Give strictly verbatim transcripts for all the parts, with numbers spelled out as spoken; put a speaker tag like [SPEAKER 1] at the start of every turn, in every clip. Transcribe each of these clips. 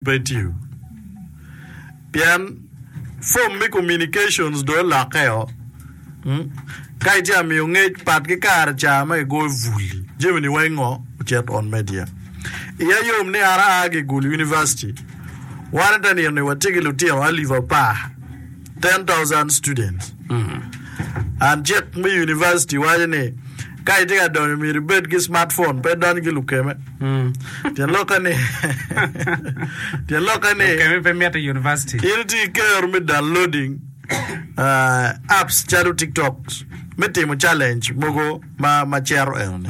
[SPEAKER 1] pe itiyo. Pien form me communications dong olokkeo. Ka itye ka miyo ngec pat ki kare ca ma kigoyo bul-li, jami-ni weng ngo ocit on media. Iya yom ni an aa ki i Gulu University, wan ite nino-ni watye ki lutino alip apar, ten thousand students. And cik me university waco ni ka itye ka donyo myero ibed ki smartphone pe idony ki lukeme. Tyen lokke ni tyen lokke ni
[SPEAKER 2] Lukeme pe mitte i university.
[SPEAKER 1] in itye ki kero me downloading uh, apps calo TikTok me timo challenge mogo ma ma cito enoni.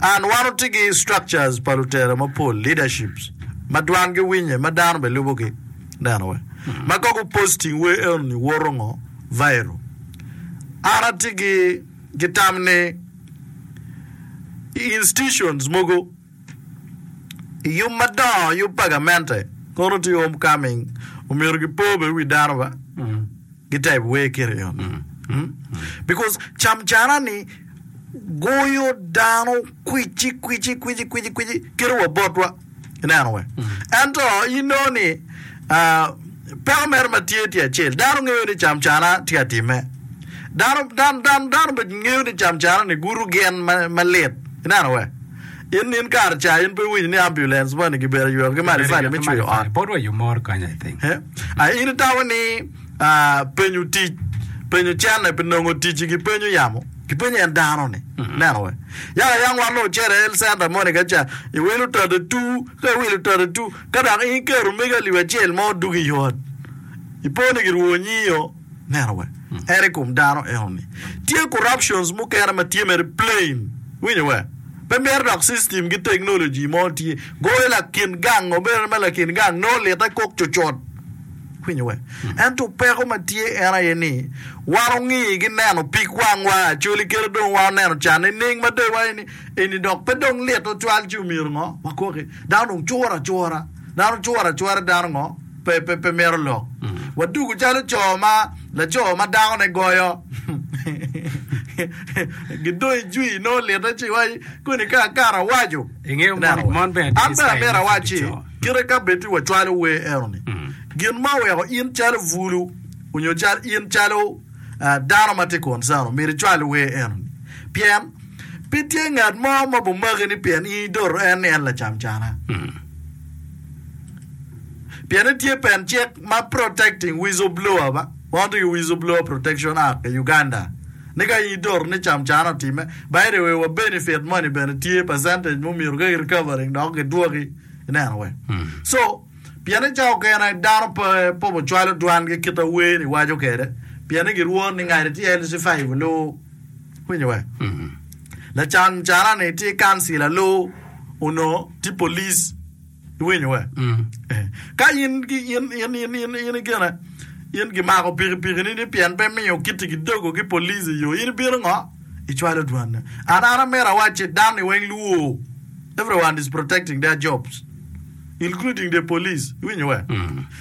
[SPEAKER 1] And wan watye ki structures pa lutela mapol, leaderships, ma dwangi winye, ma dano bene lubogi. Neno we. Ma ka gu posting wer enoni woto ngo? Viral. An atye ki ki tam ni i institutions mogo i yub madongo, yub pa gamente, kono tye homecoming, omyero gipo bene wi dano ba gitype wer kiti enoni. Mm? Because camcana ni goyo dano kwici kwici kwici kwici kwici kelo wa botwa ineno we. Ento inongo ni ah, peko mere ma tye tye acel dano ngeyo ni camcana tye ka timme dano dano dano dano bene ngeyo ni camcana ni gudo gin ma malit ineno we. In in kare ca in pe iwinyo ni ambulance moni gibedo yweko ki matafali me cweyo ot.
[SPEAKER 2] Bot wa yo moro kany, I think.
[SPEAKER 1] Eh? Ah, in itamo ni ah, penyo tic penyo cene pi nongo tic gipenyo yamo gipenyo en dano ni neno we yaka yang wan dong ocito i health center moni ka ca iwilo thirty two ka iwilo thirty two ka dok in iketo megi alip acel mo dugo i ot ipo ni girwo nyiyo neno we en i kom dano enoni tye corruptions mukene ma tye mere plain winyo we pe myero dok system ki technology mo tye goyo lakin gang obedo ma lakin gang nongo lite kok cucut winyo we ento peko ma tye en aye ni wan ongi ki neno pig wangwa actually kite dong wan oneno can nining ma dong iwaco ni eni dok pe dong lit ocwal ci omyero ngo wakoki dano dong curo acura dano curo acura dano ngo pe pe pe mito lok wadugo calo co ma laco ma dakone goyo gidong ijwi nongo lite ci iwaci koni ka akato awaco
[SPEAKER 2] Ingeyo
[SPEAKER 1] Ineno
[SPEAKER 2] mon,
[SPEAKER 1] we
[SPEAKER 2] mon bene
[SPEAKER 1] an
[SPEAKER 2] tye
[SPEAKER 1] bene
[SPEAKER 2] ki
[SPEAKER 1] amito
[SPEAKER 2] style me
[SPEAKER 1] awaci
[SPEAKER 2] co.
[SPEAKER 1] kite ka bed ti wacwalo wer enoni gin ma oweko in calo bulu onyo cal in calo uh, dano ma tye concern myero icwal wer enoni pien pe tye ngat mo ma bomaki ni pien in idoto en ni en lacamcana pien tye pen cik ma protecting whistleblower ba wan tye ki whistleblower protection act i Uganda ni ka in idoto ni camcana otime by the way wa benefit money bene tye percentage mo myero ka recovering dok gidwoki ineno we so pien ni ca okene dano pe pe ocwalo dwangi kita wer ni waco kede pien ni girwor ni ngati tye L C five lu winyo we lacan cana ni tye councillor lu ono tye police iwinyo we Eh, ka in ki in in in in in gine in gimako pikipiki ni ni pien pe miyo kiti gidogo ki police i yo in ibino ngo icwalo dwanne an an amito awacci dano ni weng luo everyone is protecting their jobs including the police iwinyo we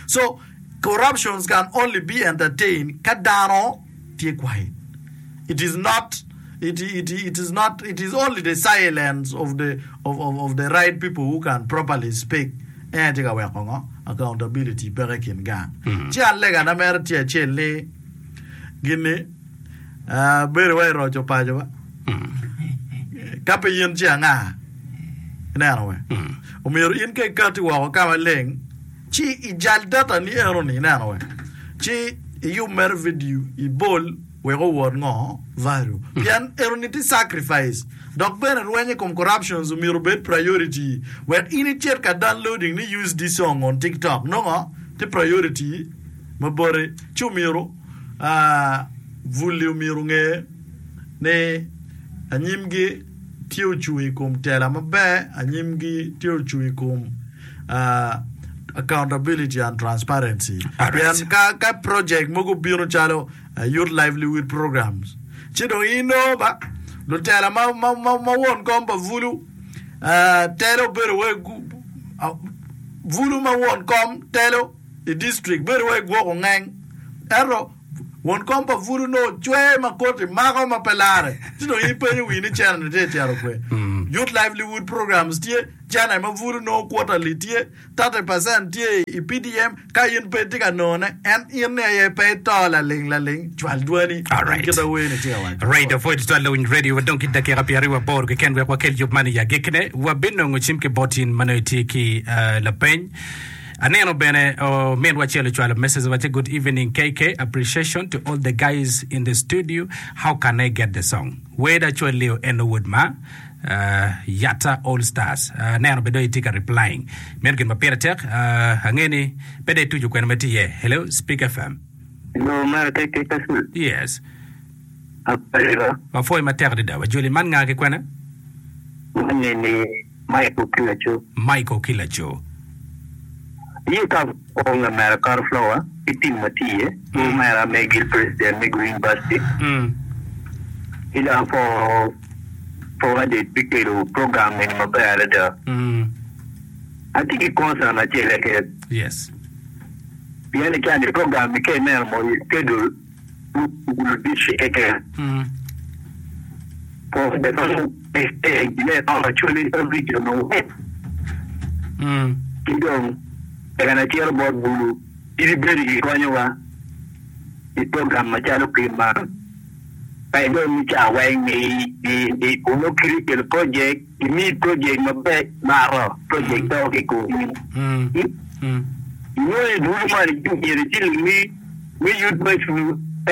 [SPEAKER 1] so corruptions can only be entertained ka dano tye quiet it is not it, it, it is not it is only the silence of the of, of, of the right people who can properly speak en tye ka weko ngo accountability peke kin gang ci an legana mere tye acel ni gini uh, bedo wa iroco paco ba ka pe in ci anga ineno we omyero in ka ikati woko ka maleng ci ijal data ni enoni ineno we ci iyub mere video ibol wek owot ngo value pien enoni tye sacrifice dok bene rwenyo i kom corruptions omyero obed priority wek in icit ka downloading ni use this song on TikTok nongo tye priority ma boti ci omyero uh, buli omyero nge ni anyimgi tye ocung i kom tela maber anyimgi tye ocung i kom uh, accountability and transparency
[SPEAKER 2] Alright.
[SPEAKER 1] pien ka, ka project mogo bino calo uh, youth livelihood programs ci dong inongo ba lutela ma, ma, ma, ma won kom pa bulu uh, telo bedo we gu, uh, bulu ma won kom telo i district bedo we gwoko ngeng ento won kom pa bulu no cwe ma koti mako ma pe lare ci dong in ipenyo wi ni cene ni tye cero kwe Youth livelihood programs tye, cene ma bulu nongo quarterly tye, thirty percent tye i P D M ka in pe itye ka nongone, en in ni aye pe ito laling laling, cwal dwani
[SPEAKER 2] Alright.
[SPEAKER 1] in kit awer-ni tye ka waco.
[SPEAKER 2] Right, apwoyo tutwal lawiny radio wadong ki dakika pyeraryo aboro keken wek wakel yub man i agikine. Wabinongo cim ki bot in ma nongo itye ki uh, lapeny. Aneno bene oh, minwa acel ocwalo message wacce, "Good evening K K, appreciation to all the guys in the studio. How can I get the song Weda Acwel Leo en owod ma uh, Yatta All Stars?" Uh, aneno bene dong itye ka replying. Meno gin ma pire tek. Uh, ange ni pe dong ituco kwena ma tye iye. Hello, Speak F M.
[SPEAKER 3] Hello, mera tek tek kasul.
[SPEAKER 2] Yes.
[SPEAKER 3] Apariba.
[SPEAKER 2] Wapwoyo matek adada. Wajoli man nga ki kwena?
[SPEAKER 3] Mane ni Michael Kilacho.
[SPEAKER 2] Michael Kilacho.
[SPEAKER 3] Ye ka ong mera kar flower ki team ma tye mm. mera me gil president me Green University.
[SPEAKER 2] Mm.
[SPEAKER 3] Ila for forwarded bikelo program ni maber adada.
[SPEAKER 2] Mm.
[SPEAKER 3] Atye ki concern acel keken.
[SPEAKER 2] Yes.
[SPEAKER 3] Pien i kani program ni ka ineno mo schedule Gulu district keken.
[SPEAKER 2] Mm.
[SPEAKER 3] For the actually every region
[SPEAKER 2] Mm.
[SPEAKER 3] ki dong eka acito bot bulu in ibedo gikonyowa i program macalo kit man ka idong ni ca weng ni onongo kiri kelo project imi project maber maro project to ki komi.
[SPEAKER 2] Mm. Mm.
[SPEAKER 3] Inongo i bulu man myero ciling mi mi youth ma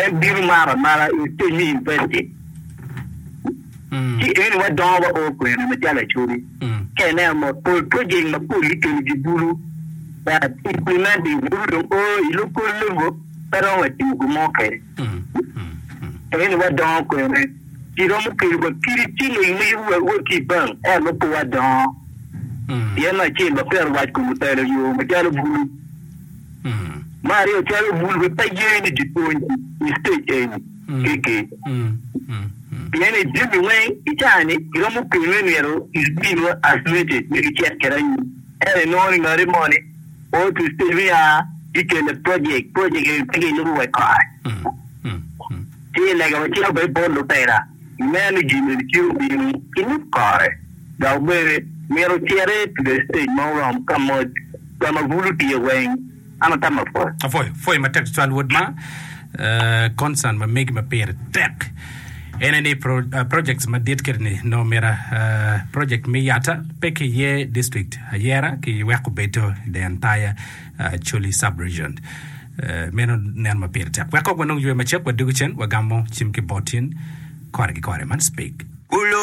[SPEAKER 3] en bino maro amara i stage me investing.
[SPEAKER 2] Mm.
[SPEAKER 3] Ci eni wadongo wa o kwene macalo Acholi.
[SPEAKER 2] Mm.
[SPEAKER 3] Ka ineno mo pol project mapol gikelo gi bulu but implementing bulu dong o i local level pe romo watimo gin mo kede.
[SPEAKER 2] Mm. Mm. Mm.
[SPEAKER 3] Eni wadongo kwene kiromo kelo wa kidi ciling mi wa ki i bank ento pe wadongo.
[SPEAKER 2] Mm.
[SPEAKER 3] Pien acel wapero wac kom otelo yo macalo bulu.
[SPEAKER 2] Mm.
[SPEAKER 3] Ma aryo calo bulu be pe ye ni gipwony i stage eni
[SPEAKER 2] Mm.
[SPEAKER 3] keke.
[SPEAKER 2] Mm. Mm. Mm.
[SPEAKER 3] Pien i jami weng i caa-ni kiromo kelone myero is being isolated me gicit kede anyim. Ento inongo ni ngati moni o to stage me a gikele project project eni pe gilubo wa i kore.
[SPEAKER 2] Mm. Mm. Mm.
[SPEAKER 3] Ci lega wacito bene bot lutela ineno ni gin eni tye obino ilub kore dok bene myero ociti to the stage ma oromo ka mo ka ma bulu tye weng an atamo apwoyo.
[SPEAKER 2] Apwoyo, pwoyo matek tutwal wod ma uh, concern ma megi ma pire tek. Ene ni pro, uh, projects madit kede ni no mira uh, project me Yatta pe ki ye district ayera ki weko bedo the entire uh, Acholi sub-region. Uh, meno nen ma pire tek. Wek kok wanong ywe macek wadugu cen wagamo cim ki botin kore ki kore man Speak.